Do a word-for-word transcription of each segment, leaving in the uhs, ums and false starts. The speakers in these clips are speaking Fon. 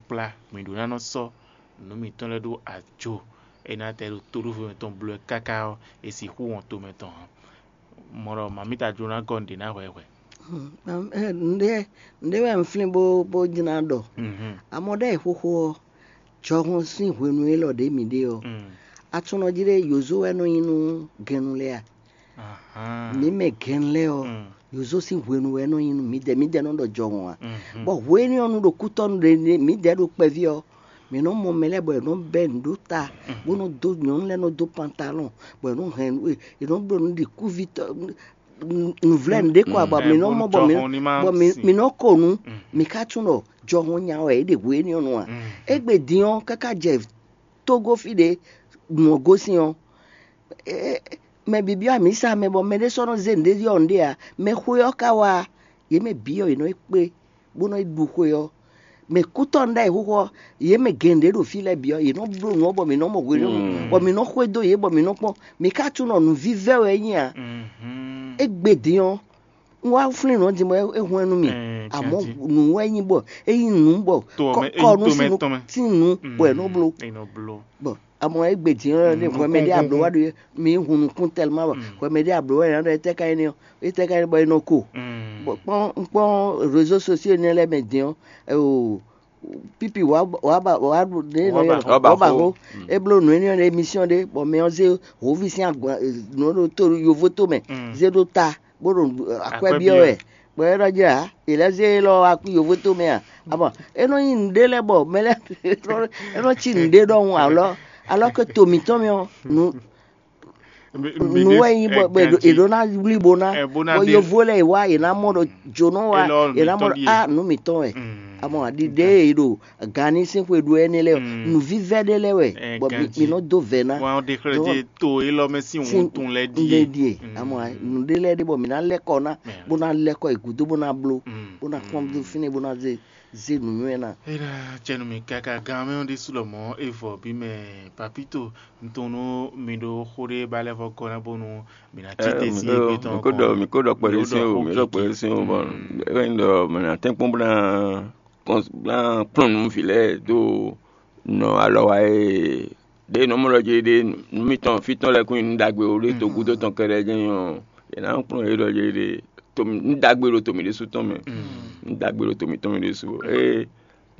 kplá mǐ ɖó ná nɔ sɔ́ nǔ mǐtɔn lɛ́ɛ ɖó ajo, é ná tɛ ɖo tóɖóvo mɛtɔn bló wɛ káká ɔ́, è sixú wɔn to mɛtɔn ǎ. Mɔ̌ ɖɔ mamíta jló ná gɔ́ nǔɖé ná hwɛhwɛ. Nǔɖé nǔɖé wɛ un flín bó bó jlá ɖɔ. Amɔ̌ ɖɛ́ xóxó ɔ́, jɔhɔn sín hwenu élɔ́ ɖě mǐ ɖe ɔ́, atúnɔ jí ɖé yǒzo wɛ nɔ nyí nú gɛnnu lɛ́ɛ a? Mǐ mɛ gɛnnu lɛ́ɛ ɔ́, yǒzo sín hwenu wɛ nɔ nyí nú mǐdɛɛ, mǐdɛɛ nɔ ɖɔ jɔhɔn a? Bɔ hwenu ɔ́ nu ɖo kútɔ́nu ɖe mǐdɛɛ ɖo kpɛví ɔ́, mǐ nɔ mɔ mɛ lɛ́ɛ bɔ è nɔ bɛ́ nǔ ɖó ta, bó nɔ dó nyɔ̌nu lɛ́ɛ nɔ dó pantalɔn, bɔ è nɔ hɛn nǔ è nɔ bló nǔ ɖi kúvítɔ́ nǔvlɛ́ nǔ ɖé kɔ ǎ, bɔ mǐ nɔ mɔ bɔ mǐ bɔ mǐ nɔ ko nǔ, mǐ ka tunwun ɖɔ jɔhɔn nya wɛ é ɖe hwenu énɛ́ ɔ́ nu ǎ. Égbé din ɔ́, káká jɛ Tógó fí ɖě mɔ̌ gosín ɔ́, mɛ bǐ byɔ́ amǐsa mɛ bɔ mɛɖé sɔ́ nɔ zé nǔɖé ɖiɖɔ nǔɖé ǎ. Mɛ xwe ɔ́ ka wá, yě mɛ bǐ ɔ́, yě nɔ yi kpé bó nɔ yi ɖu xwe ɔ́. Mɛ kútɔ́ nú ɖ'ayǐ xóxó ɔ́, yě mɛ gěgé ɖo fí lɛ́ɛ bǐ ɔ́, yě nɔ bló nǔ ɔ́ bɔ mǐ nɔ mɔ hwenu, bɔ mǐ nɔ xwedó yě bɔ mǐ nɔ kpɔ́n. Mǐ ka tunɔ nǔvívɛ́ wɛ é nyí ǎ. Égbé din ɔ́, un wá flín nǔ ɔ́ din bɔ é hwɛ́n nú mì. Amɔ̌ nǔ wɛ é nyí bɔ é nyí nǔ bɔ kɔ nú sín nǔ bɔ è nɔ bló. Bɔ amɔ égbé din ɔ́ ɖe hwɛmɛ ɖé abló wá ɖo mǐ hun nukún tɛlima bɔ hwɛmɛ ɖé abló wá ɖɔ étɛ́ ka nyí nɛ́ ɔ́, étɛ́ ka nyí bɔ é nɔ ko. Bɔ kpɔ́n kpɔ́n réseaux sociaux énɛ́ lɛ́ɛ mɛ din ɔ́, pípi wǎ wǎ ba wǎ ɖu ɖě nɔ ylɔ́ ɖɔ wǎ ba xó. É bló nǔ énɛ́ ɔ́ ɖo émission ɖé bɔ mɛ ɔ́ zé hǒví sín agban nǔ ɖo tó yovo tó mɛ zé ɖó ta bó ɖo akwɛ́ byɔ́ wɛ. Bɔ é ɖɔ jɛ ǎ, è lɛ́ zé élɔ́ wá kú yovo tó mɛ a? Abɔ é nɔ nyí nǔɖé lɛ́ɛ bɔ mɛ lɛ́ɛ é nɔ cí nǔɖé ɖɔhun alɔ alɔ ke to mǐtɔn mɛ ɔ́ nǔ nǔ wɛ nyí bɔ è ɖó ná wlí bó ná bɔ yovo lɛ́ɛ è wá è ná mɔ ɖɔ jónɔ wá è ná mɔ ɖɔ a nǔ mǐtɔn wɛ. Amɔ aɖiɖe e ɖo gani sín xwe ɖu ɛnɛ lɛ́ɛ nǔvívɛ́ ɖé lɛ́ɛ wɛ bɔ mǐ nɔ dó vɛ̌ ná. Wọ́n á ɖe xlɛ́ jí to élɔ́ mɛ sín wúntun lɛ́ɛ ɖíe. Lɛ́ɛ ɖíe. Amɔ nǔɖé lɛ́ɛ ɖé bɔ mǐ ná lɛ́ kɔ ná bó ná lɛ́ kɔ yi gǔdo bó ná bló bó ná kpɔ́n dó fínɛ́ bó ná zé zé nǔnywɛ́ ná. É ná jɛ nú mì káká gán mɛ ɔ́ ɖésú lɔmɔ̌ é vɔ bí mɛ papíto un tunwun nú mi ɖó xó ɖé ba lɛ́ vɔ gɔ́ ná bónú mǐ ná cí te sín égbé tɔn. Mi ko ɖɔ mi ko ɖɔ kpɛɖé sín o mi ɖɔ kpɛɖé sín o bɔn é wɛ nyí ɖɔ mɛ ná tɛ́nkpɔ́n bó ná kplɔ́n nú vǐ lɛ́ɛ dó nɔ alɔ wa e ɖě nɔ mɔ ɖɔ jí ɖé nú mitɔn fí tɔn lɛ́ɛ kún nyi nǔ ɖagbe o ɖé to gúdo tɔn kɛɖɛ́ jɛ́n nyí ɔ́, è nǎ kplɔ́n yě ɖɔ jí ɖé nǔ ɖagbe ɖo to mǐ ɖésú tɔn mɛ. Nǔ ɖagbe ɖo to mǐtɔn mɛ ɖésú. Ée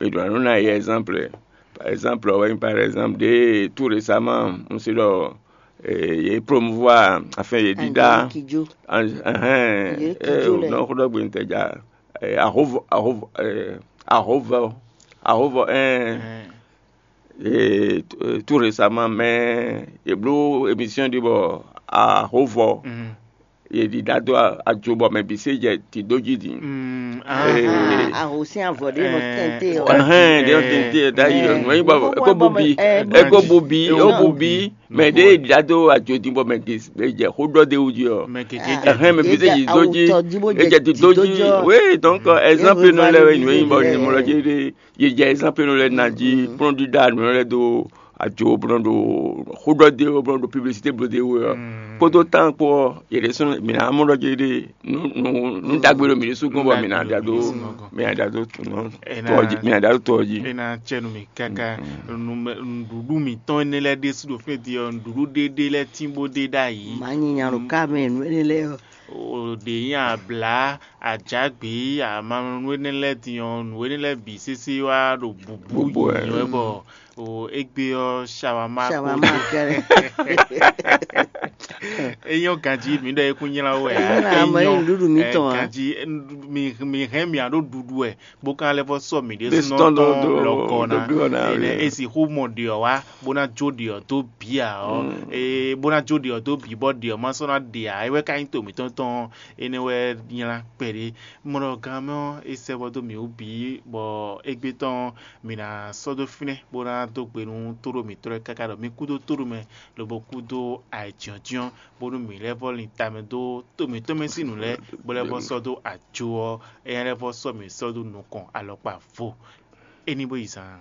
è ɖǒ ná nɔ ná yɛ ɛzánplɛ. Par ɛzánplɛ ɔ́ wɛ nyí par ɛzánplɛ ɖě tout récemment un se ɖɔ yě promouvoir afin yě ɖíɖá. Ahɛn nɔ xó ɖɔ gbe ntɛ ja ahóvɔ ahóvɔ ahóvɔ ahóvɔ ɛn. Ee, tout récemment mɛ yě bló émission ɖi bɔ ahóvɔ yě ɖi ɖa dó ajo bɔ mɛ bǐ se jɛ tǐdó jí din. Aho sín avɔ ɖé nɔ tɛnte ɔ. Ɛhɛn ɖé nɔ tɛnte ɛ ɖ'ayǐ ɔ nɔ nyí bɔ eko bubi eko bubi eko bubi mɛ ɖé ɖa dó ajo din bɔ mɛ gě jɛ xó ɖɔ dé wú jí ɔ. Ɛhɛn mɛ bǐ se yi dó jí ejɛ dó jí. Oui, donc exemple nɔ lɛ wɛ nɔ nyí bɔ nyimɔ lɔ jí ɖe. Yě jɛ exemple nɔ lɛ na jí kplɔ́n ɖíɖá nǔ lɛ dó ajo bó nɔ ɖo xó ɖɔ dé bó nɔ ɖo publicité bló dé wú ɔ kpódó tán kpó ɔ yě ɖésú mǐ ná mɔ ɖɔ jí ɖe nú nú nú ɖagbe ɖo mǐ ɖésú gɔ́n bɔ mǐ ná ɖa dó mǐ ná ɖa dó tɔ jí mǐ ná ɖa dó tɔ jí. É ná cɛ nú mì káká nǔɖuɖu mǐtɔn énɛ́ lɛ́ɛ ɖésú ɖo fínɛ́ din ɔ́, nǔɖuɖu ɖéɖé lɛ́ɛ tín bó ɖe ɖ'ayǐ. Mǎ nyi nya ɖo ká mɛ nǔ énɛ́ lɛ́ɛ ɔ́. Ɖě nyi ablǎ, ajǎgbǐ, amamɔnú énɛ́ lɛ́ɛ din ɔ́, nǔ énɛ́ lɛ́ɛ bǐ sésé wá ɖo bǔbú nyǐnyɔ́ wɛ bɔ o égbé ɔ́, shawama kó Shawama kɛrɛ. É nyɔ́ ganjí mǐ ɖɔ é kún nylá wɛ ǎ. É nylá mɛ nyi nǔɖuɖu mǐtɔn ǎ. Ganjí mi mi hɛn mì aɖó ɖuɖu wɛ bó ka lɛ́ vɔ sɔ́ mǐ ɖésúnɔ tɔn lɔkɔ ná. Ene e sixú mɔ ɖiɔ wá bó ná jó ɖiɔ dó bǐ ǎ ɔ́, ee bó ná jó ɖiɔ dó bǐ bɔ ɖiɔ má sɔ́ ná ɖe ǎ. É wɛ ka nyí to mǐtɔn tɔn ɔ́, énɛ́ wɛ nylá kpɛɖé. Mɔ ɖɔ gan mɛ ɔ́, é sɛ́ vɔ dó mǐ wú bǐ bɔ égbé tɔn ɔ́, mǐ ná sɔ́ dó fínɛ́ bó ná dó gbe nú tóɖó mǐtɔn lɛ́ɛ káká ɖɔ mí kúdó tóɖó mɛ lobo kúdó ayǐjínjɔ́n bónú mǐ lɛ́ vɔ lin tamɛ dó to mǐtɔn mɛ sín nǔ lɛ́ɛ bó lɛ́ vɔ sɔ́ dó ajo ɔ́, éyɛ́ lɛ́ vɔ sɔ́ mǐ sɔ́ dó nukɔn alɔkpa vo. É ní bó yi zaan.